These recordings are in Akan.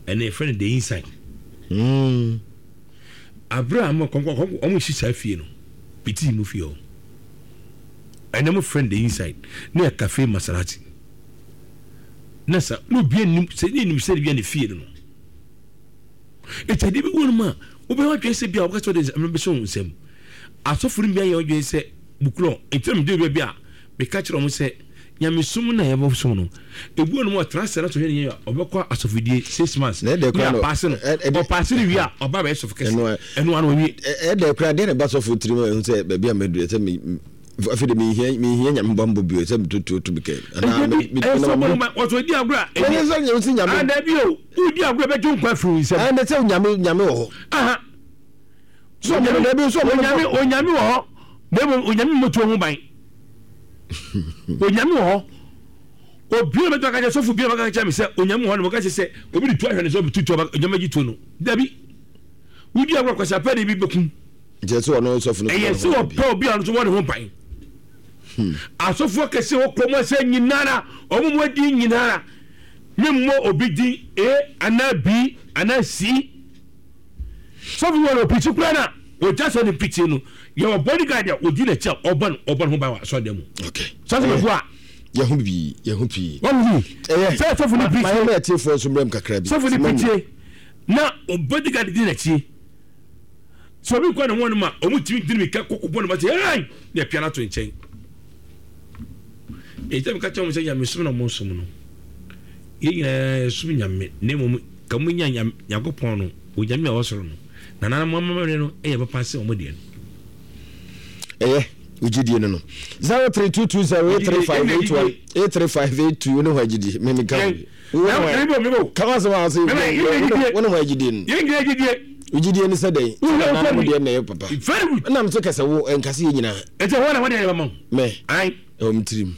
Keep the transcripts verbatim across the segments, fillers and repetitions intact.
Ɛnna yɛfrɛ no The Inside. Mm. Abere a mo kɔnkɔn kɔnkɔn wɔn si saa fie no, bitii mu fie hɔ. Ɛnna mo frɛ no The Inside. Ne yɛ Cafe Maserati. Na sa na obi anim sɛ ne nim sɛ bi a ne fie no no. Eti adeɛ bi wɔ no mu a wobɛyɛ wadwene sɛ bi a wɔka sɛ wɔde nsɛm bɛhyɛ wɔn nsam. Asɔfo no bi ayɛ wadwene sɛ bukulɔ. Eti na mede bi a meka kyerɛ wɔn sɛ nyamesom na yɛbɛsom no. Ebi wɔ no mu a ɔtena ase na sɛ ɔhwɛ ne yɛ a ɔbɛkɔ asɔfodie six months. Na ɛdɛ koraa Ne no apaase no. ɛ- ɛdɛ- Ɔpaase no wie a ɔba bɛyɛ sɔfo kɛse. Ɛno a- Ɛno ano awie. Ɛ- ɛdɛ koraa deɛ na ɛba sɔfo tirim a ɛhu sɛ baabi a maduru sɛ me afei de mehia mehia Nyame bammɔ bio sɛ metutuo to bi kɛ anaa Nti me- me- ɛyɛ me- sɔfo me- no ma wɔsɔ di agorɔ a Ɛnyɛ sɛ nyame sɛ Nyame Ah, dabi o, wodi agorɔ bɛgye nkwa afiri wo nsam. Ɛnɛ sɛ Nyame Nyame wɔ hɔ. Aha. So ɔmo no dabi so ɔmo no Onyame Onyame wɔ hɔ. Na mmom Onyame mmɔtuo ho ban. Onyame wɔ hɔ. Obi a bɛtɔ aka kyerɛ sɔfo bi a bɛka kyerɛ me sɛ Onyame wɔ hɔ na wɔka kyerɛ sɛ obi de tu ahwɛ ne sɛ obi tu tu ɔba Onyame gye tuo no. Dabi. Wodi agorɔ kwasi apɛ de bi bɛkum. Nkyɛ sɛ ɔno sɔfo no Ɛyɛ sɛ wɔpɛ obi a ɔno nso wɔ ne ho ban. Asɔfoɔ kɛse wɔ kurom ase nyinara, wɔn mu adi nyinara. Memmɔ obi din A anaa B anaa C. Sɔfo wɔ no ɔpikyi koraa na wɔgya sɔ ne mpikyi no, yɛwɔ bodyguard a ɔdi n'akyi a ɔbɔ no ɔbɔ ne ho ban wɔ asɔredan mu. Okay. Sɔfo bɛfo a Yɛho pii, yɛho pii. wɔn hu Ɛyɛ. sɛ sɔfo no Ma yɛn pikyi ma atiefoɔ nso mmerɛm kakra bi. sɔfo no Sima mu. pikyie na bodyguard di n'akyi. Sɛ obi kɔ ne ho no ma ɔmo tumi di ne mika kɔkɔ bɔ ne ba sɛ ɛɛn na ɛpia no ato nkyɛn. Ɛgya mi ka kyerɛ wɔn sɛ nyamesom na wɔn som no, yɛn nyinaa yɛsom Nyame, na mmom ka mo nya Nyame Nyankopɔn no, Onyame a ɔwɔ soro no, na nananom amammerɛ no yɛ papa sɛ wɔn deɛ no. Ɛyɛ wogyidie no no zero three two two zero eight three five eight one eight three five eight two ne ho agyidie me me ka ho bi. Wo ne ho Mebo mebo ka ho asɛm a ɔsɛ Mebe, yɛn gyidie. wo ne ho agyidie no. Yɛn nyinaa gyidie. Wogyidie no sɛ dɛn? Wo Sɛ hwɛ nananom wo deɛ na ɛyɛ papa. Very good. Ɛnam so kɛsɛ wo ɛnkase yɛ nyinaa. Ɛti hɔ na wɔde yɛ bɛma wo. Mɛ Ayi. ɛwɔ me tirim.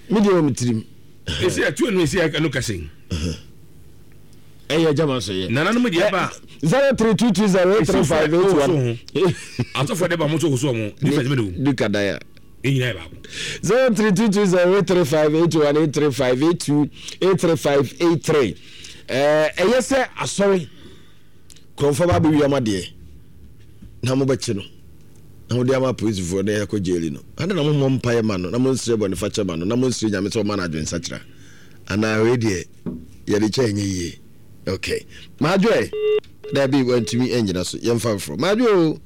Me deɛ ɛwɔ me tirim. Esi ɛtu ɛnu esi ɛnu kɛse. Ɛyɛ gyama so yɛ. Nananom deɛ ba. Zero three two two zero eight three five eight one. Asɔfo de ba mo nso woso wɔn. Difference bɛ de wo. Duka daya. Yɛn nyinaa yɛ baako. Zero three two two zero eight three five eight one eight three five eight two eight three five eight three. Ɛɛ ɛyɛ sɛ asɔre kurɔnfo ba abɛwia ma deɛ na mo bɛkye no na mo de ama apolisifoɔ na yɛakɔ jail no, ade na mo mmɔ mpaeɛ ma no na mo nsrɛ bɔne fakyɛ ma no na mo nsrɛ Nyame sɛ ɔma no adwensakyera anaa? Wei deɛ yɛde kyɛ ɛnyɛ yie. Okay, Maadwoɛ, daabi, wantumi angyina so, yɛmfa mforɔ. Maadwoɛ o.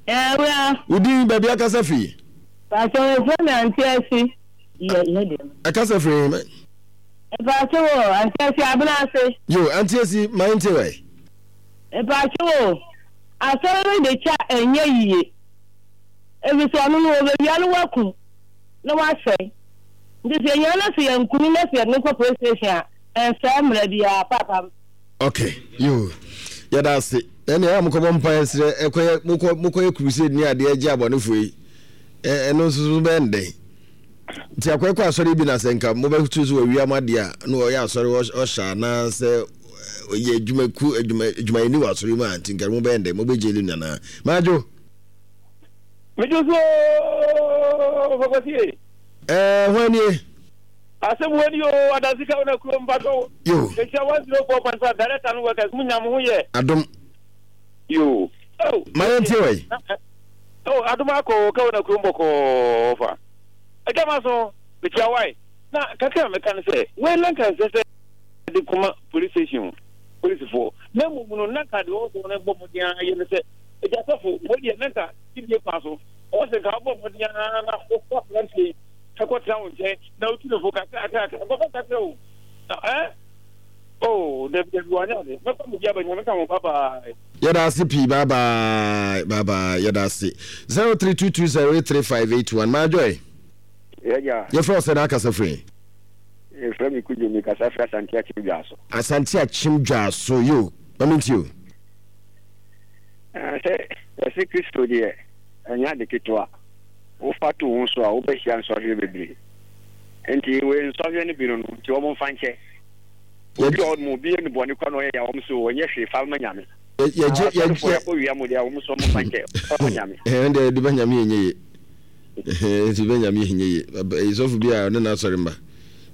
Ɛwura. Wo din, baabi akasa firi? Pàṣẹ wọ́n mi Àǹtí Ẹsí. Yẹ yẹ deɛ. Ɛkasa firi he? Mpàṣẹ wọ Àǹtí Ẹsí Abena ase. Yo, Auntie Esi, ma yɛntie wɛ. Mpàṣẹ wọ asɔre no de kya ɛnyɛ yie. Ebi sɛ ɔno no wɔbɛwia no wakum na wasɛe. Nti sɛ yɛnya no sɛ yɛnkunu na sɛ yɛde no kɔ police station a, ɛnsɛe mmara biara paapa. Okay, yo, yɛda ase. Ɛne ɛyɛ a mokɔbɔ mpaeɛ srɛ ɛkɔyɛ mokɔ mokɔyɛ crusade ne adeɛ gye abɔnefoɔ yi. Ɛno nso so bɛyɛ ndɛn? Nti akɔyɛkɔ asɔre bi na sɛ nka mobɛto so wɔawia mo adeɛ a na ɔyɛ asɔre ɔhyɛ anaasɛ ɔyɛ adwumaku adwuma adwumayɛni wɔ asɔre mu a, nti nka mobɛyɛ ndɛn? Mobɛgyeli no anaa? Madwo. Medwo so fɔkɔsie. Ɛɛ, hwan nie? Asɛm wɔ ni o, adansi ka wona kurom mpatɔ. Yo. Ehyia one zero four point five director no workers mu nya mo ho yɛ. Adom. Yo. Oh. Ma yɛn tie wɔ yi. Oh, adom akɔ ka wona kurom bɔkɔɔ fa. Ɛgya ma so mekyia wae. Na kakra meka ne sɛ wei na nka nsɛ sɛ de kɔma police station polisifoɔ, na mmom no na nka deɛ ɔwɔ sɛ wɔn bɔ mmɔden ara yɛ ne sɛ agya sɔfo wei deɛ na nka dibie kwan so ɔwɔ sɛ nka wobɔ mmɔden ara na wokɔ aberanteɛ yi ɛkɔtena wo nkyɛn na wotu ne fo kakra kakra nkɔfa kakra o na ɛ o dabi dabi wanyɛ ade mɛfa mo bi aba. Nyame ka ho, bye bye. Yɛda ase pii, bye bye, bye bye, yɛda ase. Zero three two two zero eight three five eight one. Maadwoe. Yɛgya. Yɛfrɛ wo sɛ na akasa firi? Yɛfrɛ me Kudwo, mekasa firi Asante Akyem Dwaaso. Asante Akyem Dwaaso, yo, ma mentie o. Sɛ yɛse Kristo deɛ, ɛnyɛ ade ketewa. Wofa to wo ho so a, wobɛhyia nsɔhwɛ bebree. Nti wei nsɔhwɛ no bi no no, nti wɔn mfa nkyɛ. Obi wɔ hɔ nom, obi yɛ no bɔne kora na ɔyɛ ya, wɔn so ɔnyɛ hwee, fa ma Nyame. Yɛgye Asɔrefoɔ yɛakɔ wia mo deɛ, wɔn so wɔn mfa nkyɛ, fa ma Nyame. Ɛn deɛ yɛde ba Nyame ɛnyɛ ye. Yɛde ba Nyame ɛnyɛ ye. Ɛyi sɔfo bi a ɔne n'asɔre mma.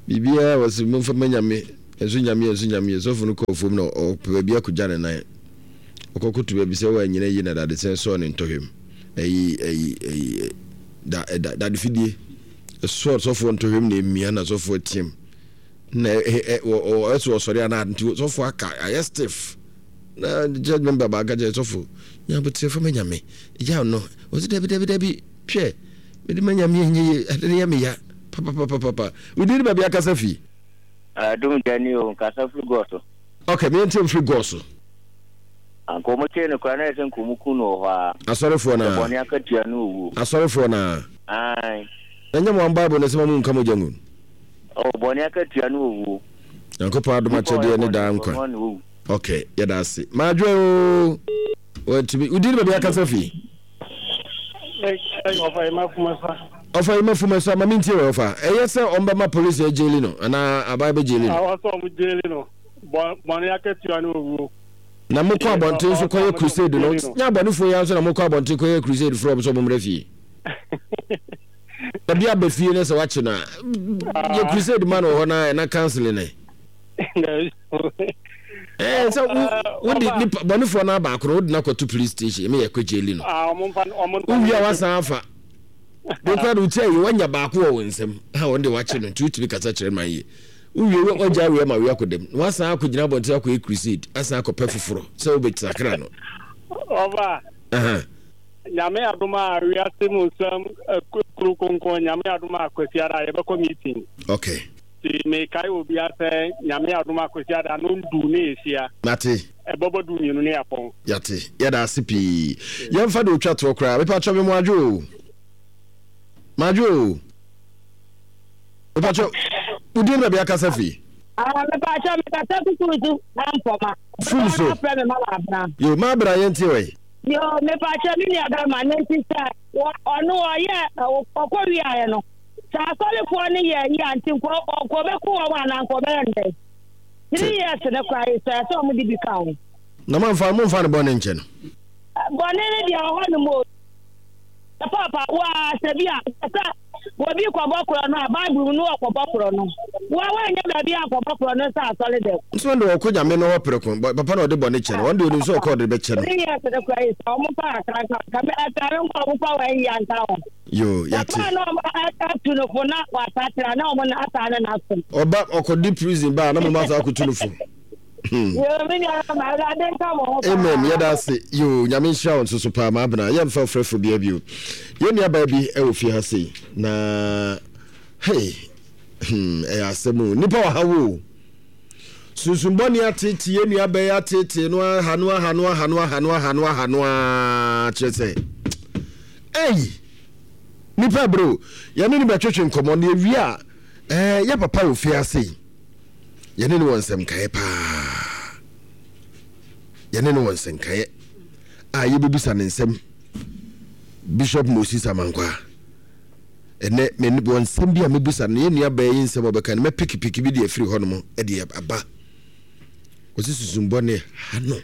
Biribiara wɔ se momfa ma Nyame. Ɛnso Nyame, ɛnso Nyame. Sɔfo no kɔɔ fam na ɔpɛ baabi akɔgya ne nan. Ɔkɔkoto baabi sɛ wanyina yie na dadesɛn sɔɔ ne ntɔhwɛ mu. Ɛyi, ɛyi, ɛyi, da, da, dade fidie. Ɛsɔɔ sɔfoɔ ntɔhwɛ mu na emia na sɔfoɔ team. Na ɛ, ɛ, ɔ, ɛsɛ ɔsɔre anaa nti sɔfoɔ aka, ayɛ stiff. Na church member baaka kyerɛ sɔfo, nya aboterɛ fa ma Nyame. Gyaw no. Ɔse dabi, dabi, dabi. Hwɛ, mede ma Nyame ɛnyɛ yie, ade no yɛ me ya. Papapapapa. Wo din ne baabi akasa fi? Adum gya ni o, nkasa firi gɔɔ so. Ok, me ntie mfiri gɔɔ so. Anka ɔmo kyee no koraa na ɛsɛ nka ɔmo ku no wɔ hɔ aa. Asɔrefoɔ no Sɛ aa. bɔne akatua ne owuo. Asɔrefoɔ no aa. Ae. Na nyɛ mo am bible no sɛ ma mo nka mogya ngu. Oh, bɔne akatua ne owuo. Nyankopɔn adom Nipa a ɔyɛ akyɛdeɛ ne bɔne daa nso nkwa. ɔno ara na owu. Ok, yɛda ase. Madwe oo. Wantumi. Wo din ne baabi akasa fi? Ɔfa yi ma fuma sa. Ɔfa yi ma fuma sa ma mintie wɔ ɔfa. Ɛyɛ sɛ ɔmo bɛma polisi agyeli no anaa aban bɛgyeli no? Awɔ sɛ ɔmo gyeli no. Bɔne akatua ne owuo. Na mokɔ abɔnten nso kɔyɛ crusade no, nyɛ abɔnefoɔ yi ara nso na mokɔ abɔnten kɔyɛ crusade frɛ ɔmo sɛ ɔmo mmra fie. Obi aba fie na sɛ wakye no a, yɛ crusade ma no wɔ hɔ na ɛna counseling ɛ. Ɛɛ sɛ wo wode nipa bɔnefoɔ no abaako no wode no akɔto police station ɛmɛ yɛ kɔ gyeli no. Wowie a wasan afa. Wokura de wotia yie wanya baako wɔ wo nsam ha wɔn de wakye no nti wotumi kasa kyerɛ man yie. Wowie wagya awie ama wie akɔ dɛm na wasan akɔgyina abɔnten akɔyɛ crusade asan akɔpɛ foforɔ sɛ wobɛsakra no. Ɔba. Nyame adom a wiase mu nsɛm kuro kronkron Nyame adom a Kwasiada yɛbɛkɔ meeting. Okay. Nti mekae obia sɛ Nyame adom a Kwasiada no ndu ne yɛhyia. Mate. Ɛbɛbɔ du mmienu ne yɛapɔn. Yate. Yɛda ase pii. Yɛmfa deɛ otwa toɔ koraa. Mepakyɛ me mo adwo o. Madwo o. Mepakyɛ wo din baabi akasa fi? Ah, mepakyɛ mekasa kuku so ampɔma. Fum so. Afrɛ me ma abena. Yo, ma abena yɛntie wɔ yi. Yo, mepakyɛ me nua bɛrima ne nti sɛ ɔno ɔyɛ ɔkɔ wiaeɛ no sɛ asɔrefoɔ no yɛ yi a nti nkɔ ɔkɔ bɛku wɔn anaa nkɔ bɛyɛ no dɛn three years no koraa yi sɛ sɛ wɔn de bi ka ho. Na momfa momfa ne bɔne nkyɛ no. Bɔne no deɛ ɔhɔ nom o. Paapa waa sɛ bi a sɛ obi kɔbɔ korɔ no a Bible mu no ɔkɔbɔ korɔ no wa wanyɛ baabi ankɔbɔ korɔ no sɛ asɔre dɛm. Nso ɔno deɛ ɔkɔ Nyame no hɔ prɛko papa na ɔde bɔne kyɛ no ɔno deɛ onim sɛ ɔkɔ ɔde bɛkyɛ no. Three years no koraa yi sɛ ɔmo fa kakra nka nka me ɛtare nkɔ ɔmo fa wɔn yia nka ho. Yoo yate. Papa na ɔmo atu no fo na wasakyera na ɔmo na asaa ne n'asom. Ɔba ɔkɔdi prison ba a na mo ma saa akotu no fo. Hmm. Amen yɛda ase yoo nyame nhyira wo nso so paa maabena yɛmfa ɔfrɛfo bia bio yɛn nuabaa bi wɔ fie ha sei na hey hmm, ɛyɛ asɛm o nipa wɔ ha wo sunsumbɔne atete yɛn nuabaa yi atete no aha no aha no aha no aha no aha no aha no a kyerɛ sɛ ei nipa bro yɛne no bɛtwetwe nkɔmmɔ na yɛwie a ɛɛ yɛ papa wɔ fie ase yi Yɛne no wɔ nsɛmkaeɛ paa. Yɛne no wɔ nsɛnkaeɛ a yɛbɛbisa ne nsɛm. Bishop Moses Amankwaa. Ɛnɛ me wɔ nsɛm bi a mɛbisa no. Yɛn nua baa yi nsɛm a ɔbɛka no mɛpikipiki bi de afiri hɔnom de aba. Ɔsi susumbɔne ha no.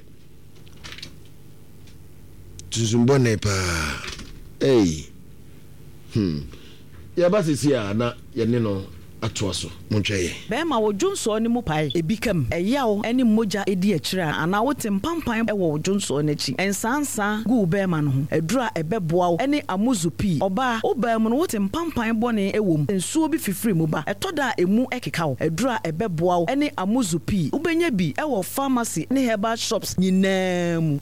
Sunsum bɔne paa. Ei. Hmm. Yɛba sisi a na yɛne no atoa so. Montwɛn yɛn. Bɛrima, wo dwonsɔɔ no mu pae, ebi ka mu, ɛyaw ne mogya di akyire a, anaa wote mpampan wɔ wo dwonsɔɔ no akyi. Nsaansaa gu wo bɛrima no ho. Aduru a ɛbɛboa wo ne amuzu pii. Ɔbaa, wo baa mu no wote mpampan bɔne wɔ mu, nsuo bi fifiri mu ba, ɛtɔ da a emu keka wo. Aduru a ɛbɛboa wo ne amuzu pii. Wobɛnya bi wɔ pharmacy ne herbal shops nyinaa mu.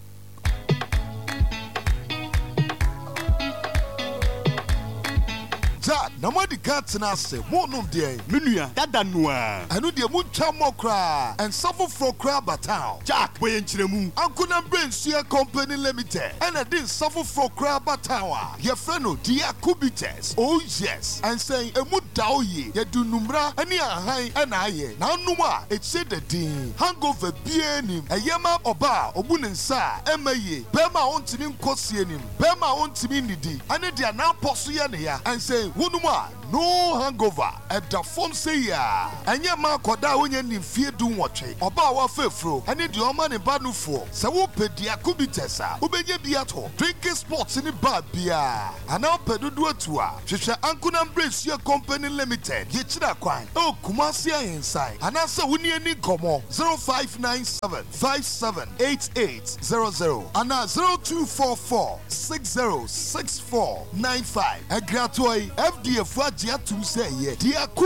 Jack, na moadi kan atena ase morenom deɛn? Me nua, dada no ara. Ɛno deɛ montwa mmɔ koraa. Nsa foforɔ koraa aba town. Jack, bɔ yɛn nkyerɛmu. Ankonam Brɛnsua Company Limited ɛna ɛde nsa foforɔ koraa aba town a yɛfrɛ no Diaku Bitters. Oh yes! Nsa yi, ɛmu da hɔ yie. Yɛde nnumera ne ahahan na ayɛ. Na wonom a, ɛkyire da dinn. Hangover biara nnim. Ɛyɛ ma ɔbaa a ɔbu ne nsa a ɛmma yie, barima a ɔntumi nkɔ sie anim, barima a ɔntumi nnidi, ɛne deɛ n'apɔ so yɛ ne ya. Ɛnsɛ wonom a, No hangover. Ɛda fam sei ara. Ɛnyɛ mma akwadaa a onnya nnii mfeɛ du-nwɔtwe, ɔbaa a wafa afuro, ne deɛ ɔma ne ba nufoɔ. Sɛ wopɛ Diako Bitters a, wobɛnya bi atɔ drinking spots ne bar biara. Anaa wopɛ dodoɔ atu a, hwehwɛ Ankonam Bresua Company Limited, Yɛkyiri Akwan, ɛwɔ Kumasi Ahensan, anaasɛ wo ne yɛn nni nkɔmmɔ zero five nine seven five seven eight eight zero zero anaa zero two four four six zero six four nine five. Ɛgratoɔ yi, F D A foɔ agye atom sɛ ɛyɛ Diako.